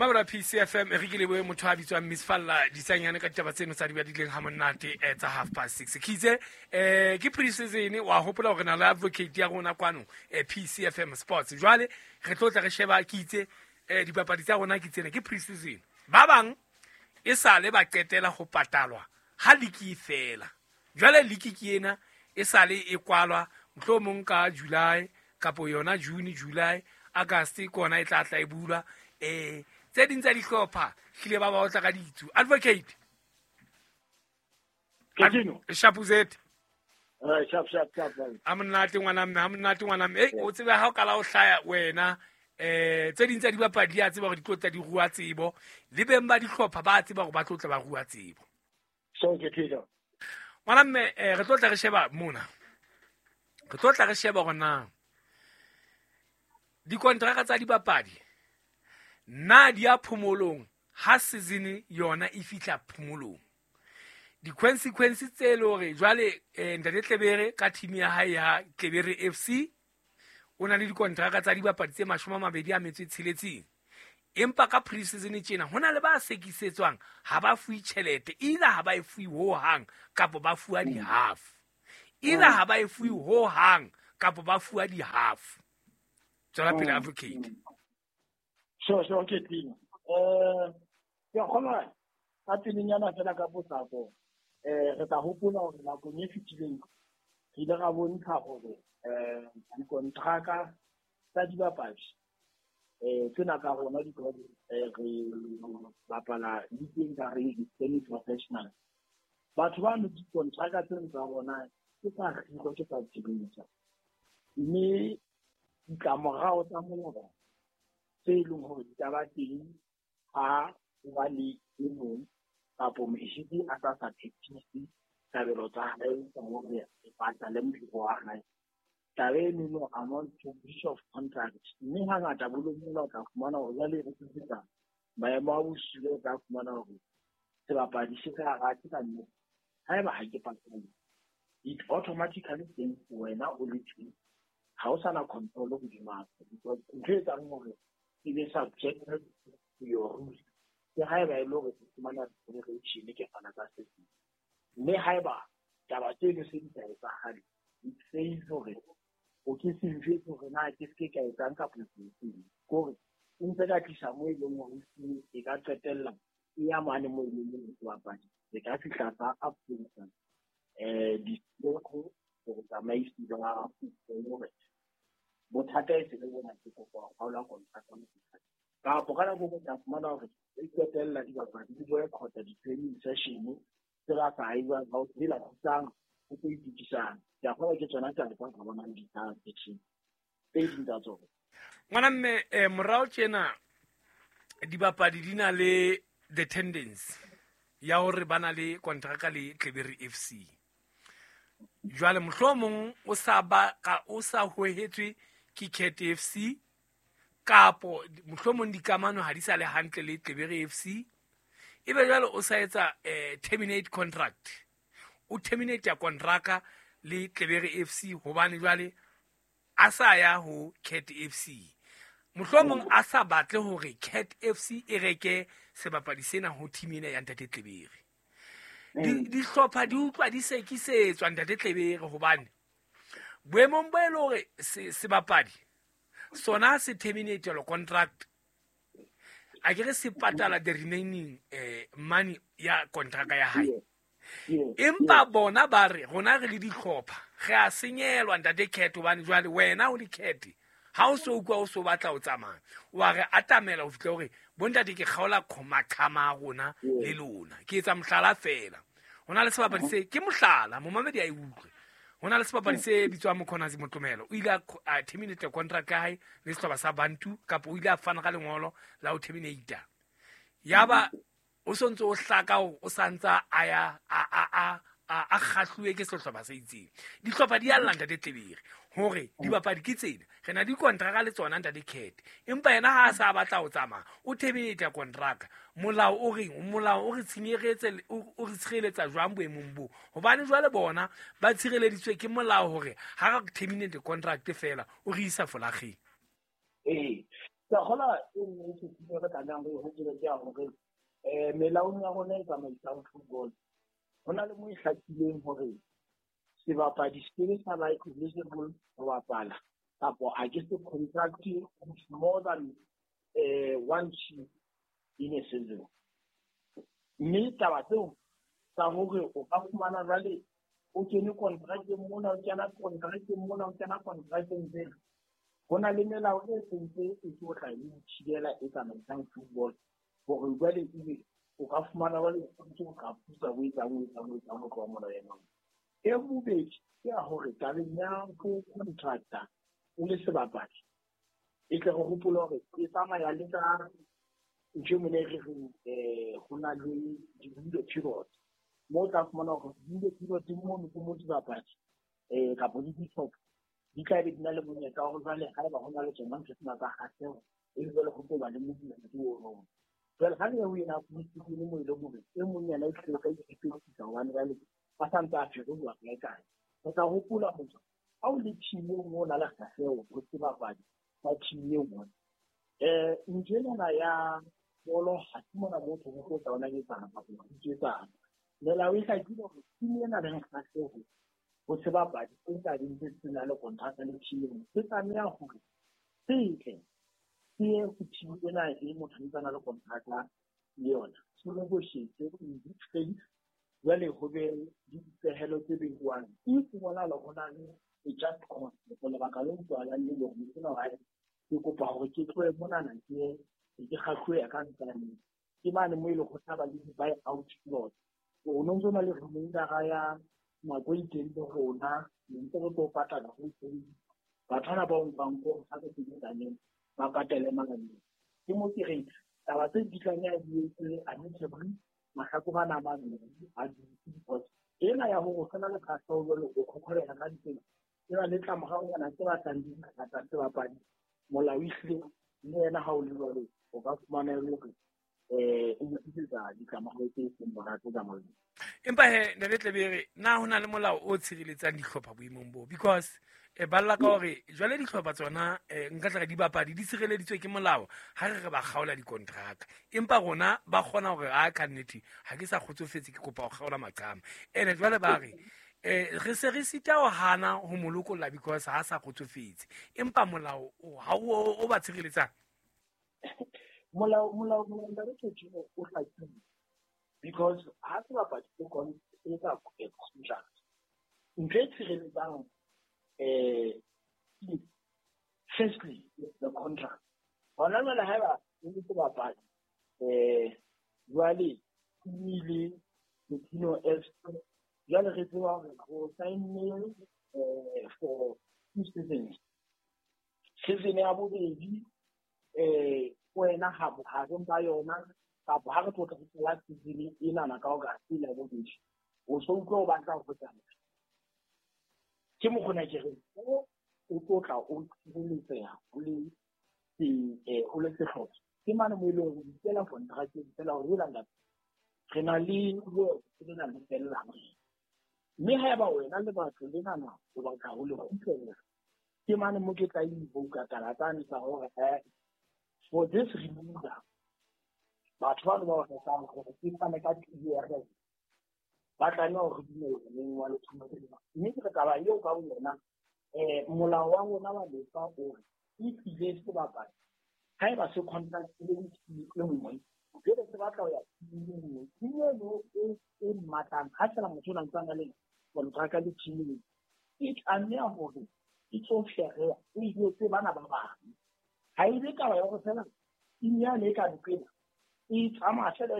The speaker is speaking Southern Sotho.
Mamela PCFM e re ke lebohe motho a bitswang Miss Falla Ditsanyane ka ditaba tseno tsa di badileng ha monate tsa 6:30. Ke itse ke pre-season, wa hopola hore na le advocate ya rona kwano PCFM Sports. Jwale re tlo tla re sheba, ke itse dipapadi tsa rona ke tsena, ke pre-season. Ba bang e sale ba qetela ho patalwa ha liki e fela. Jwale liki ke ena e sale e kwalwa mohlomong ka July kapo yona June, July, August ke ona e tla tla e bulwa. Tse ding tsa dihlopha hlile ba ba otla ka ditsu. Advocate Shapuzet. Shap shap shap. A monate ngwana mme, ha monate ngwana mme. O tsebe ha o kala o hlaya wena tse ding tsa dibapadi di a tseba hore di tlo tla di rua tsebo, le beng ba dihlopha ba tseba hore ba tlo tla ba rua tsebo. So ke thina. Ngwana mme, re tlo tla re sheba mona. Re tlo tla re sheba hore na dikontraka tsa dibapadi na di ya phomolong ha season yona e fihla phomolong. Di-consequences tse le hore jwale Ntate Tlebere ka team ya hae ya Tlebere FC o na le dikontraka tsa dibapadi tse 26. Empa ka pre-season tjena ho na le ba sekisetswang ha ba fuwe tjhelete, either ha ba e fuwe hohang kapa ba fuwa di-half. Either ha ba e fuwe hohang kapa ba fuwa di-half. Tswela pele advocate. Sure, ke teng. Ke a kgona ka pelenyana fela ka potlako. Re tla hopola hore nakong e fetileng re ile ra bontsha hore dikontraka tsa dibapadi tsena ka rona because re bapala league ka re semi-professional. Batho ba no dikontraka tsena tsa rona ke tsa kgiro, ke tsa tshebetso. Mme ditlamorao tsa molao tse leng hore di ka ba teng ha o ba le e mong kapo mohiri a sa sa phethise kabelo tsa hae tsa hore e patale mohiro wa hae. Taba eno amount to breach of contract. Mme hangata bolong o tla fumana hore jwale re tlisetsa maemo a bosula, o tla fumana hore sebapadi se sa rate ka nnete. Haeba ha ke patale, it automatically teng wena o le teng. Ha o sana control hodima because ntho e etsang hore e be subject to your rules ke haeba e le hore ke fumana remuneration ke fana ka se seng. Mme haeba taba tseno se di sa etsahale, it says hore o ke se njwetse hore na ke se ke ka etsang kapa ke etseng. Ke hore o ntse ka tlisa moo e leng hore e ka qetella e ya mane moo e leng hore sebapadi se ka fihla sa approach diseko hore tsamaisi ba hore bothata e se le bona ke kopa ho kgaola kontraka. Kapo ka nako e tla fumana hore e qetella dibapadi di boycott di-training session tse ba sa ewang ba o tsela thusang ho tlo itokisang. Ke a kgolwa ke tsona taba tsa ka bonang di-transaction tse ding tsa tsona. Ngwana mme, morao tjena dibapadi di na le the tendency ya hore ba na le kontraka le Tlebere FC. Jwale mohlomong o sa ba ka o sa hohetswe ke Cat FC kapo mohlomong dikamano ha di sa le hantle le Tlebere FC. Ebe jwale o sa etsa terminate contract. O terminate ya kontraka le Tlebere FC hobane jwale a sa ya ho Cat FC. Mohlomong a sa batle hore Cat FC e reke sebapadi sena ho team ena ya Ntate Tlebere. Dihlopha di utlwa di sekisetswa Ntate Tlebere hobane boemong bo e le hore sebapadi sona se terminate lo contract, a ke re se patala the remaining money ya kontraka ya hae. Empa bona ba re rona re le dihlopha re a senyelwa Ntate Cat hobane jwale wena o le Cat ha o so utlwa o so batla o tsamaya wa re atamela ho fihla hore bontate ke kgaola maqhama a rona le lona. Ke etsa mohlala fela. Ho na le sebapadi se ke mohlala momamedi a e utlwe. Ho na le sebapadi se bitswang Mokhonazi Motlomelo. O ile a terminate contract ya hae le sehlopha sa Bantu kapa o ile a fana ka lengolo la ho terminate. Yaba o sontse o hlaka hore o santsa a ya a kgahluwe ke sehlopha se itseng. Dihlopha di a lla Ntate Tlebere hore dibapadi ke tsena. Re na di kontraka le tsona Ntate Cat. Empa yena ha a sa batla ho tsamaya, o terminate kontraka. Molao o reng? Molao o re tshinyeretse, o re tshireletsa jwang boemong bo? Hobane jwale bona ba tshireleditswe ke molao hore ha re terminate contract fela o re isa folageng. Ke a kgolwa e nngwe e ke re tlamehang re e hopole ke ya hore melaong ya rona e tsamaisang football ho na le mo e hlakileng hore sebapadi se ke sa ba eligible ho bapala kapa a ke se contract with more than one team in a season. Mme taba tseo tsa hore o ka fumana jwale o kene contract-eng mona, o kena contract-eng mona, o kena contract-eng tsena, ho na le melao e sentse e tlo tla e thibela e tsamaisang football hore jwale ebe o ka fumana jwale o ntse o ka putsa o etsang o etsang o etsang ho tloha mona ena. E bobedi ke ya hore tabeng ya ho contracta o le sebapadi e tle re hopole hore e tsamaya le ka ntho e mone e re reng ho na le di-window period mo o tla fumana hore window period mono ke mo dibapadi kapa le dihlopha di tla be di na le monyetla wa hore jwale haeba ho na le tsona ntho tsena tsa kgahleho e be jwale ho tlo ba le modumo ono. Jwale ha le ya ho ena pre-season mo e leng hore e mong yena e hlile o tla iphetetsa hobane jwale ba sa ntse a feroha kae kae. Re tla hopola hore ha o le team e nngwe o na le kgahleho ho sebapadi sa team e nngwe ntho enana ya bolo ha se mona motho ho tlo tla ona etsana kapa ho iketsana. Melao e hlakile hore team ena leng kgahleho ho sebapadi se tla beng se se na le kontraka le team e nngwe se tlameha hore se tle se ye ho team ena e motho a ntse a na le kontraka le yona, se negotiate in good faith. Jwale ho be le dipehelo tse behuwang if ho bonahala ho na le a just cause kapa lebaka le utlwahalang le leng hore sena hae ke kopa hore ke tlohe monana ke ye ke kgahluwe ka ntlane ke mane mo e leng ho tla ba le di-buy out clause. O no ntso na le remainder ya nako e itseng le rona ne ntse re tlo patala ho itseng batho bana ba o nkang ko ha re sebetsaneng ba patale makaleng. Ke mo ke reng taba tse di tlameha di etse amicably mahlakore ana a mabedi a dutse because ena ya hore o sena le kgahleho jwale o khokholeha ka ditsela e na le tlamoraonyana tse batlang di ngata sebapadi. Molao ehlile le yena ha o le jwalo o ka fumana e le hore o mo tlisetsa ditlamorao tse seng monate ka molao. Empa he ntate Tlebere, na ho na le molao o tshireletsang dihlopha boemong bo? Because ba lla ka hore jwale dihlopha tsona nka tla re dibapadi di sireleditswe ke molao ha re re ba kgaola dikontraka, empa rona ba kgona hore a ka nnete ha ke sa kgotsofetse ke kopa ho kgaola maqhama. Ene jwale ba re re se re sita ho hana ho mo lokolla because ha sa kgotsofetse, empa molao ha o ba tshireletsang. Molao ntate Tjhotjhino o hlakile because ha sebapadi se etsa contract ntho e tshireletsang firstly the contract. Hona jwale haeba o le sebapadi jwale o ile Tino FC jwale re tseba hore o sign-ne for 2 seasons. Season ya bobedi wena ha bohareng ba yona kapa ha re tlo tla qala season enana ka August ya bobedi o so utlwa o batla ho tsamaya. Ke mokgona ke re o tlo tla o tshireletseha o le sehlopha. Ke mane mo e leng hore o ikela contract-eng fela hore hela ntate re na le lena le fellang. Mme haeba wena le batho lenana o batla ho le kgutlela ke mane mo ke tla invoke taba tsane tsa hore for this remainder batho bano ba o rekang hore ke fane ka clearance ba tlameha hore dumella neng wa letsholo lena. Mme ke re taba eo ka boyona molao wa rona wa lefa o re e tlile sebapadi haeba se contract-ile le team e nngwe jwale se batla ho ya team e nngwe, team eno e mmatlang ha feela motho ona ntse a na le kontraka le team eno e tlameha hore e tlo fereha e jwetse bana ba bang. Ha e be taba ya hore feela team yane e ka nqena e tsamaya feela